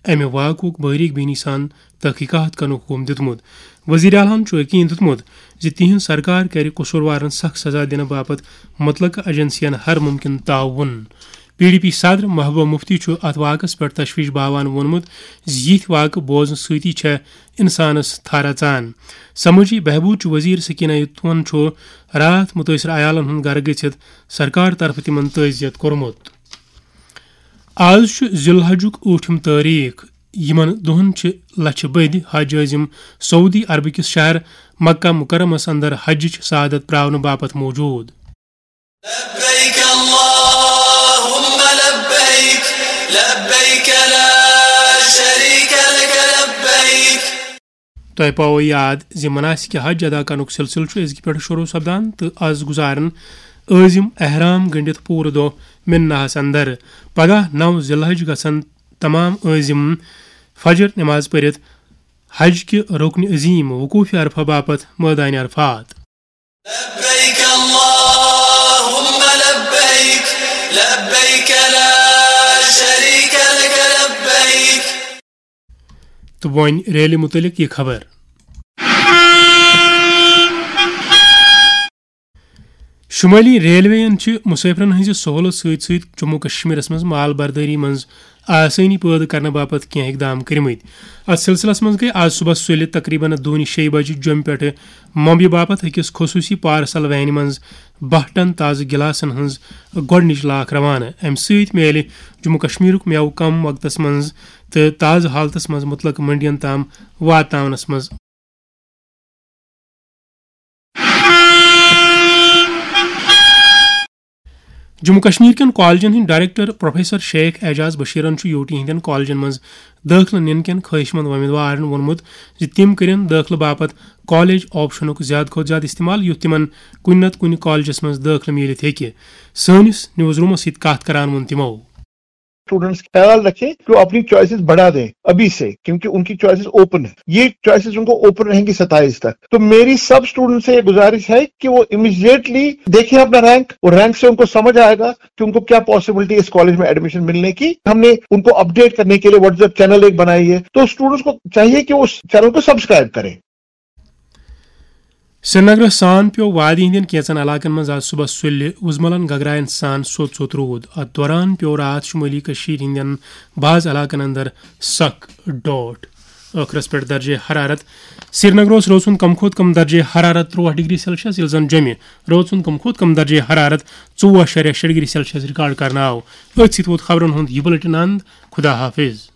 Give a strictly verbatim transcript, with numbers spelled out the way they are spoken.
امہِ واقعُک باریک بینی سان تحقیقات کرنُک حکم دیُتمُت۔ وزیر اعلیٰ ہن چھُ یقین دیُتمُت زِ تِہنٛز سرکار کرِ قصوٗروارن سخت سزا دِنہٕ باپتھ متعلقہٕ ایجنسین ہر ممکن تعاون۔ پی ڈی پی صدر محبوبہ مفتی چھُ اتھ واقعس پٮ۪ٹھ تشویش باوان ووٚنمُت زِ یِتھۍ واقعہٕ بوزنہٕ سۭتی چھےٚ انسانس تھر اژان۔ سمٲجی بہبود چہِ وزیر سکینہ یتون چھُ راتھ مُتٲثرٕ عیالن ہُنٛد گرٕ گٔژھِتھ سرکار طرفہٕ تِمن تعزیت کوٚرمُت۔ آز چھُ ذی الحجُک ٲٹھِم تٲریخ۔ یِمن دۄہن چھِ لچھِ بٔدۍ حج عٲزِم سعودی عربہٕ کِس شہر مکہ مکرمس اندر حجٕچ سعادت پراونہٕ باپتھ موجود۔ لبيك اللهم لبيك، لبيك لا شريك لك لبيك۔ تۄہہِ پاوو یاد زِ مناسک حج ادا کرنُک سلسلہٕ چھُ أزکہِ پٮ۪ٹھٕ شروع سپدان تہٕ از گُزارن عٲزِم احرام گٔنڈِتھ پوٗرٕ دۄہ مناہس اندر۔ پگاہ نو ذی الحج گژھن تمام عٲزِم فجر نماز پٔرِتھ حج کہِ رُکنہِ عظیٖم وقوٗفِ عرفہ باپتھ مٲدانِ عرفات۔ لبيك اللهم لبيك، لبيك لا شريك لك لبيك۔ تہٕ وۄنۍ ریلہِ مُتعلِق یہِ خبر۔ شُمٲلی ریلوے یَن چھِ مُسٲفِرن ہٕنٛزِ سہوٗلژ سۭتۍ سۭتۍ جموں کشمیرس منٛز مال بردٲری منٛز آسٲنی پٲدٕ کرنہٕ باپتھ کینٛہہ اقدام کٔرمٕتۍ۔ اتھ سلسلس منٛز گٔے آز صبحس سُلہِ تقریباً دونہِ شیٚیہِ بجہِ جوٚمہِ پٮ۪ٹھٕ ممبیہِ باپتھ أکِس خصوٗصی پارسل وینہِ منٛز باہ ٹن تازٕ گلاسن ہٕنٛز گۄڈٕنِچ لاکھ روانہٕ۔ امہِ سۭتۍ میلہِ جموں کشمیرُک مٮ۪وٕ کم وقتس منٛز تہٕ تازٕ حالتس منٛز مُتلق منڈین تام واتناونس منٛز۔ جموں کشمیر کٮ۪ن کالجن ہٕنٛدۍ ڈائریکٹر پروفیسر شیخ اعجاز بشیرن چھُ یوٹی ہٕنٛدٮ۪ن کالجن منٛز دٲخلہٕ نِنہٕ کٮ۪ن خٲہِش مند وۄمیدوارن ووٚنمُت زِ تِم کٔرِن دٲخلہٕ باپتھ کالج آپشنُک زیادٕ کھۄتہٕ زیادٕ استعمال، یُتھ تِمن کُنہِ نتہٕ کُنہِ کالجس منٛز دٲخلہٕ میٖلِتھ ہیٚکہِ۔ سٲنِس نیوز رومس سۭتۍ کتھ کران ووٚن تِمو۔ اسٹوڈنٹس خیال رکھیں کہ وہ اپنی چوائسیز بڑھا دیں ابھی سے، کیونکہ ان کی چوائسیز اوپن ہے۔ یہ چوائسیز ان کو اوپن رہیں گی ستائیس تک۔ تو میری سب اسٹوڈنٹ سے یہ گزارش ہے کہ وہ امیڈیٹلی دیکھیں اپنا رینک، اور رینک سے ان کو سمجھ آئے گا کہ ان کو کیا پاسبلٹی ہے اس کالج میں ایڈمیشن ملنے کی۔ ہم نے ان کو اپڈیٹ کرنے کے لیے واٹس ایپ چینل ایک بنائی ہے، تو اسٹوڈنٹس کو چاہیے کہ وہ اس چینل کو سبسکرائب کریں۔ سرینگرس سان پیوٚو وادی ہٕنٛدٮ۪ن کینٛژن علاقن منٛز آز صبحس سُلہِ وُزملن گگراین سان سوٚت سوٚت روٗد۔ اتھ دوران پیوٚو راتھ شُمٲلی کٔشیٖرِ ہٕنٛدٮ۪ن بعض علاقن اندر سخ ڈوٹھ۔ ٲخرس پٮ۪ٹھ درجے حرارت۔ سرینگر اوس رٲژ ہُنٛد کم کھۄتہٕ کم درجے حرارت تُرٛواہ ڈگری سیلسیس، ییٚلہِ زن جوٚمہِ رٲژ ہُنٛد کم کھۄتہٕ کم درجے حرارت ژوٚوُہ اَشاریہ شےٚ ڈگری سیلسیس ریکارڈ کرنہٕ آو۔ أتھۍ سۭتۍ ووت خبرن ہُنٛد یہِ بُلٹن اند۔ خدا حافظ۔